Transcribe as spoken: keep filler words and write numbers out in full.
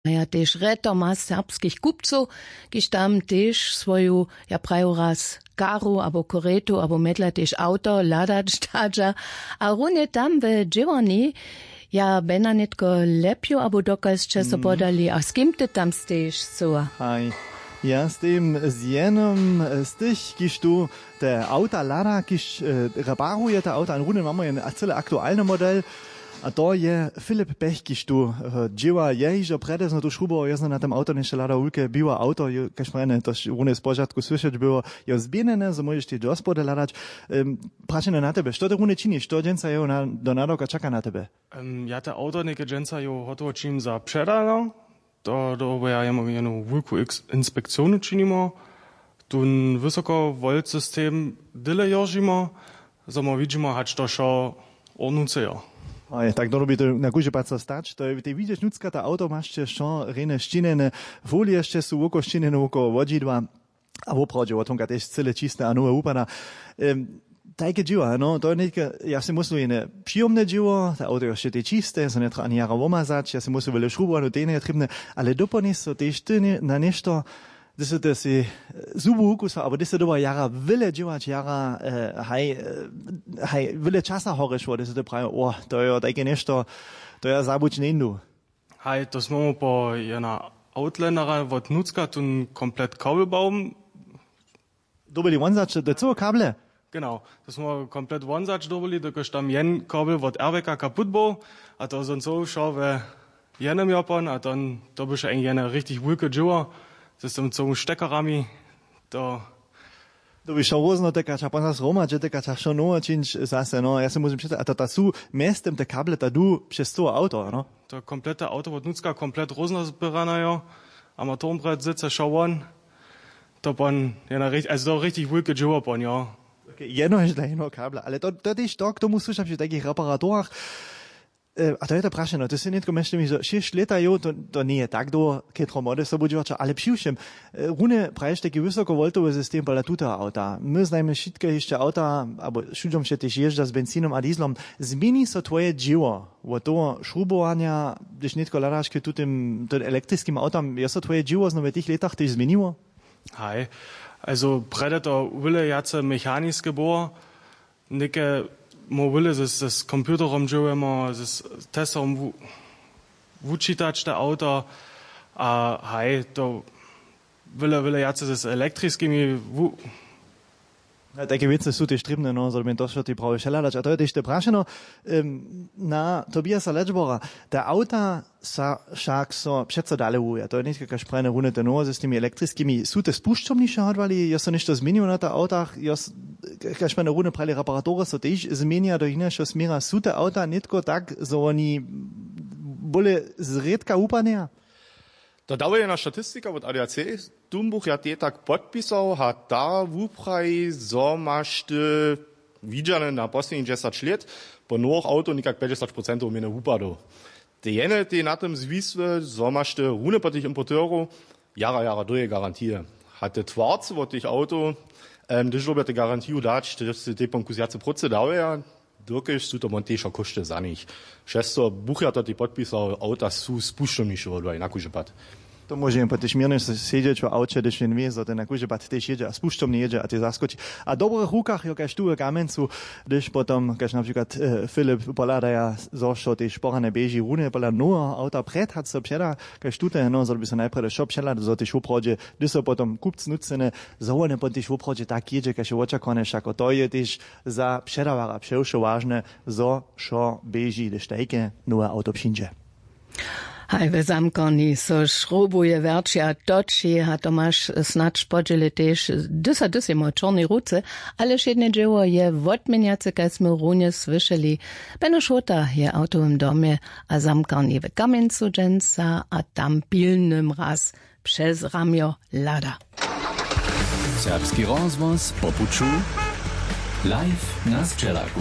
Maja tež rjetoma serbskich kupcow, kiž tam tež swoju, ja praju raz, karu abo koretu abo medla tež awto hladać dadźa. A runje tam we dźěłarni, ja bena nětko lepju abo dokal sće so podali a z kim ty tam stejiš scyła? Haj, ja stejim z jenym z tych, kiž tu te awta hlada, kiž reparuje te awta, a runje mamy jen cyle aktualny model. A to je Filip Pech, kiž tu dźěła je hižo prjedy zno tu šrubował, je zno na tym awto něšto hladał, wulke biłe awto, kaž prjene to runje z požadku słyšeć było, je zběhnjene, zo móžeš tež do spody hladać. Prašenje na tebe, što ty runje činiš, što dźensa jeho do nadawka čaka na tebe? Ja te awto něke dźensa jeho hotowo činim za předano. To dobo ja jemu jenu wulku inspekcjonu činimo. Tón wysoko wolcy system dyle joržimo, zo mo widźimo hač to wšo ornuce jo. Aj tak dono by to na kóždy pad so stać, to je tej widźeć nutřka ta awto maš će wšo rjenje šćinjene, folije sće su woko šćinjene wokoło wodźidła. A woprawdźe wotomka tež cyle čiste a nowe wupada. Tajke dźěła, no to je nětke, ja sej myslu jene přijomne dźěło, te awto je wšetej čiste, so njetrja ani jara womazać, ja sej myslu wjele šrubowanu, tej njeje trěbne. Ale dopołni so tež ty na něšto, hdyž sy ty sej zubu wukusał abo hdyž sy doba jara wjele dźěłać jara, haj, haj wjele časa horješło, hdyž sy ty prajił, o, to jo tajke něšto, to ja zabuć njeńdu. Haj, to smy mu po jena outlandera wot nutřka tón komplet kabelbaum. Dobyli wonzać do cyłe kable? Genau, to smy komplet wonzać dobyli, dokelž tam jen kabel wot airbaka kaput był. A to soncow wšo we jenym jopon a to to byše jen jene richtig wulke dźěło z tym cołym štekarami. To dobi wšo rózno tykać a pon zas hromadźe tykać a wšo nowe čińć zase, no ja se móžem přeca a to ta su mjeztym te kable ta du přez cyłe awto, no. To komplete awto wot nutřka komplet rózno zběrane jo. A ma tom brjed syce wšo won. To pon je na richtig wulke dźěło pon jo. Jedno je dla jedneho kabla ale to to tež to k tomu słyša při tajkich reparatorach. A to je to prašeno, ty sy nětko mjeztym hižo šěsć lěta jow, to njeje tak dołho, chětro młode sobudźěłaća, ale přiwšěm runje praješ tajki wysokowoltowy system pola tuteho awta. My znajmy wšitke hišće awta abo wšudźom wše tež jězdźa z bencinom a dieslom. Změni so twoje dźěło wot toho šrubowanja, hdyž nětko hladaš k tutym tym elektriskim awtam, je so twoje dźěło znowu w tych lětach tež změniło? Haj, also prjedy to wyle wjace mechaniske było. Něke móhł wyle z computerom dźěłujemo z testorom wučitać te awto. A haj to wyle wyle wjace z elektriskimi wu. Tajke wěcy su tež trěbne no zo bě to wšo tej prawje wšehladać a to je tež te prašeno. Na tobiasa ledžbora, te awta sa wšak so přeco dale wuja to je nětko kaž prajene runje te nowoze z tymi elektriskimi su te spušćomniše hodłali jo so něšto změniło na tych awtach jo kaž prajene runje prajli reparatory so tež změnja do hinašeho směra su te awta nětko tak zo woni bóle zrědka wupadnjeja? To dawuje na statistika wot adac. Tumbuch ja tej tak podpisał a ta wupraji zo maš ty widźane na poslednich dźesać lět po nowych awtow někak pjećdźesać procentow mjene wupadow. Te jene tej na tym zwisły zo maš ty runje po tych importerow jara jara dołhe garantije. A te twarce wot tych awtow hdyž dyrbja te garantiju dać te sej tej ponku zwjace prócy dałeja. Dokelž su to won tež a kóšty za nich. Přez to buch ja to tej podpisał awta su spušćomniše wodłaj na kóždy pad. To móže jen po tež měrnje sedźeć w awće hdyž jen wě zo ten na kóždy pad tež jědźe a spušćomnje jědźe a tej zaskoči. A w dobrych rukach jo kaž tu w kamjencu, hdyž potom kaž na přikład filip pohladaja zo wšo tež porane běži runje pola noweho awta prjed hač so předa kaž tute heno zo by so najprjedy wšo přehlady zo tež woprawdźe hdyž so potom kupc nutřcene zo wone pon tež woprawdźe tak jědźe kaž je wočakowane wšako to je tež za předawarja přewšo wažne zo wšo běži hdyž tajke nowe awto přińdźe. Haj w zamkarni so šrobuje wjerći a toči a tomaš snadź podźěli tež hdyž a hdyž jemu w čornej ruce. Ale wšědne dźěło je wotměnjace kaž smy runje słyšeli. Beno šłota je w awtowym domje a zamkarni w kamjencu dźensa a tam pilnym raz přez ramjo hlada. Serbski rozhłos po puću live na sćelaku.